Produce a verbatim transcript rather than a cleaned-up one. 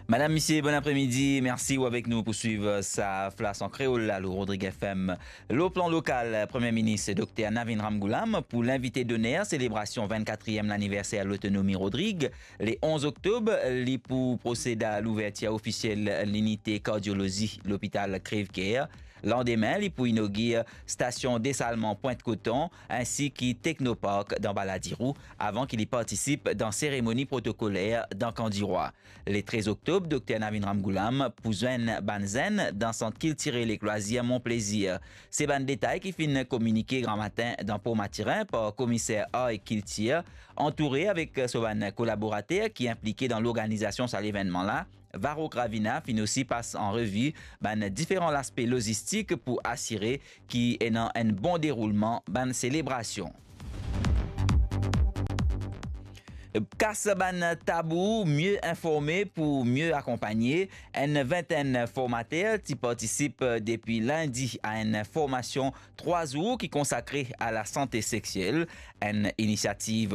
Madam, misie, bon apremidi. Mersi ou avek nou pou swiv sa Flash an kreol la lor Rodrig F M. Lor plan lokal, Premie Minis Dokter Navin Ramgoolam pou linvite doner selebrasion vennkatriem laniverser Lotonomi Rodrig. Le onz oktob, li pou prosed a louvertir ofisiel linite kardiolozi lopital Crèvecoeur. Landime, li pou inogir stasion desalman Pointe Coton, insi ki Technopark dan Baladiro, avan ki li partisip dan seremoni protokoler dan Kan Dirwa. Le trez oktob, Dokter Navin Ramgoolam pou zwenn bann zenn dan Sant Kiltirel Ek Lwazir Mon Plezir. Se bann detay ki finn kominike gramatin dan Port Mathurin par Komiser Ar ek Kiltir, antoure avek so bann kolaborater ki inplike dan lorganizasion sa levennman la. Varrock Ravina finn osi pas an revi bann diferan laspe lozistik pou asire ki ena enn bon deroulman bann selebrasion. Kas bann tabou, mie informe pou mie akonpagne. Enn vintenn formater ti partisip depi lindi a enn formasion trwa zour ki konsakre a lasante sexiel, enn inisiativ